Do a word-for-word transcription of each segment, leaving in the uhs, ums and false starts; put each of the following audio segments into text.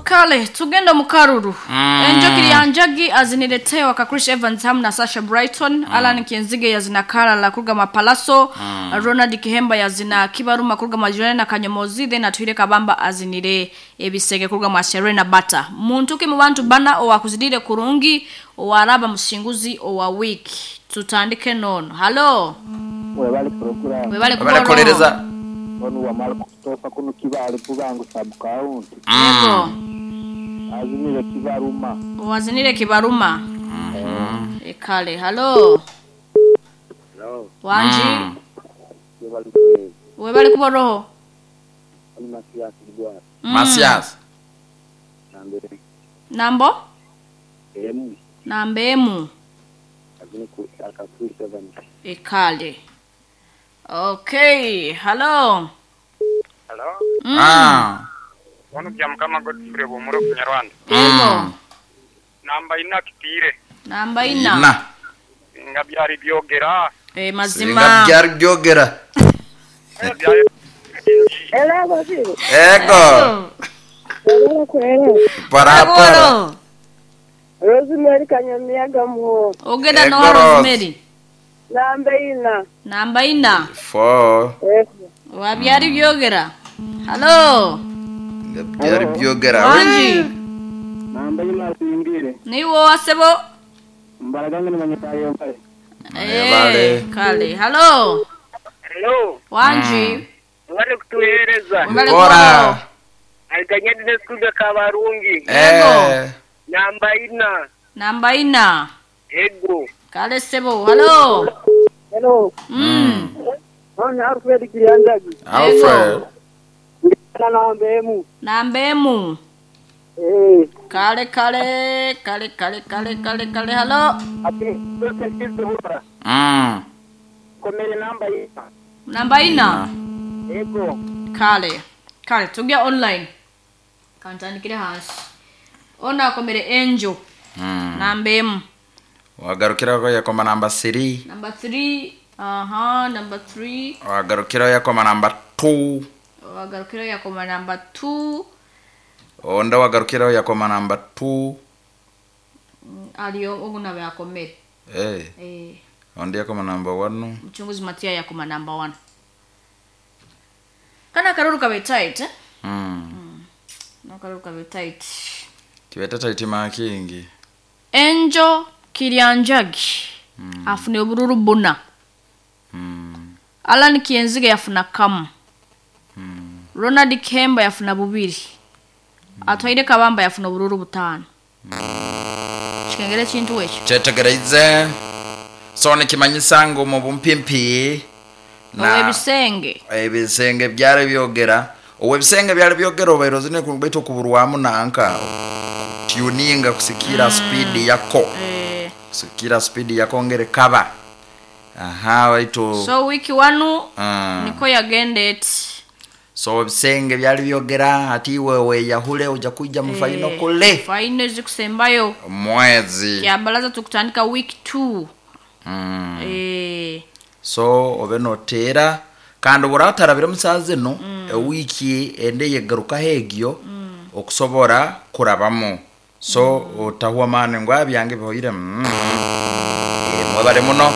Kale tugenda mu karuru. Enjoki ya Njagi aziniletewa ka Chris Evans hamu na Sasha Brighton. Alan Kienzige yazina Kalala kuruga Mapalaso. Ronald Kihemba yazina Kibaruma kuruga Majirani na Kanyomozi, then Atuire Kabamba azinire ebisege kuruga mwa Serena Bata. Muntu ki mu bantu bana owakuzidire kurungi owaraba musinguzi owa wiki. Tutandike nono. Halo. Webale program. Webale Webale. Onu wa Marco Tofa kuno Kibale kubangu sub county. Yego. Azinire Kibaruma. Wazinire Kibaruma. Mm-hmm. Ekale. Halo. Hello. Wanji. Mm. Webale kwezi. Webale kuboroho. Ni Masias Bwana. Mm. Masias. Nambe. Nambo? Emu. Nambe emu. Azini ku aka Chris Evans. Ekale. Okay. Hello. Hello. Mm. Ah. Wano bya mukama Godfrey bomuro kunyarwanda. Yego. Namba ina kitire. Namba ina. Ina. Singa byari byogera. Eh mazima. Singa byari byogera. Byari Ela baziro. Ego. Para para. Rosemary Kanyamiaga muho. Ogenda no Ego. Rosemary. Namba ina. Namba ina. Four. Ego. Wa byari byogera. Hello. Nga byari byogera. Wanji. Namba ina singire. Niwo asebo. Mbaraga ngene manyatayo mbale. Webale. Eh, kale. Hello. Hello. Wanji. Wale kutuhereza. Webale Bora. kuboroho. Alikanyadi neskuga kabarungi. Eh. Namba ina. Namba ina. Ego. Kale sebo. Hello. Hello. Mm. Oni Alfred Kirianjagi. Alfred. Ngana namba emu. Namba emu. Eh. Kale kale kale kale kale kale kale. Hello. Ati Mm. komere namba ina. Namba ina. Ego. Kale. Kale tugya online. Kantandikire hansi. Ona akomere Angel. Mm. Namba emu. Wagarukiraho yakoma namba three. Number three. Aha, number three. Wagarukiraho yakoma namba two. Wagarukiraho yakoma number two. Onda wagarukiraho yakoma namba two. Aliyo oguna yakomere. Eh. Eh, Ondi yakoma namba one. mchunguzi Matia yakoma number one. Kana karuru kabe tight, eh? Mm. No karuru kabe tight. Kibeta taitima kingi. Angel Kirianjagi. Mm. Afune obururu buna. Mm. Alan Kienzige yafuna kamu. Mm. Ronald Kemba yafuna bubiri. Mm. Atwaire Kabamba yafuna obururu butano. Mm. Chikengere chintu ekyo. Kyetegereze. So nikimanyisa ngu mu bumpimpi Na ebisenge. Ebisenge byari byogera. Owebisenge byari byogera obairo zine kubaito kuburwamu nanka. Tuninga kusikira mm. speed yako. Eh. Kusikira speed yako ngere kaba. Aha baito. So wiki wanu mm. niko yagendet. So ebisenge byari byogera ati wewe yahule uja kuja mu final Eh, kule. Final zikusembayo. Mwezi. Kyabalaza tukutandika week two. Mm. Eh. So obe notera kandi buratarabira musaza eno mm. ewiki ende yegaruka hegyo mm. okusobora kurabamu so mm. otahwa mane ngo abyange bihoire mm. e, mwebale muno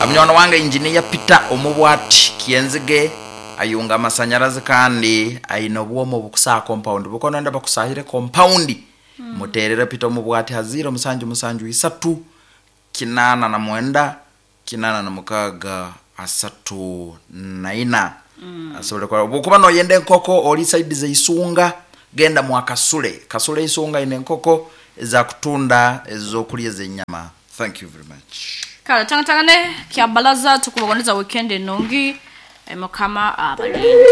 amnyono wange engineer Peter omubwati Kienzige ayunga amasanyarazi kandi aina obwomo bukusaa compound bukono nda bakusahire compound mm. muterere Peter omubwati haziro musanju musanju isatu kinana na mwenda kinana na mukaga asatu na ina mm. asobole kwa bukuba no yende nkoko oli side ze isunga genda mwa kasule kasule isunga ine nkoko za kutunda ezokulya zenyama. Thank you very much. Kale tanga tangane kyabalaza tukubagoniza weekend enongi mukama abalinde.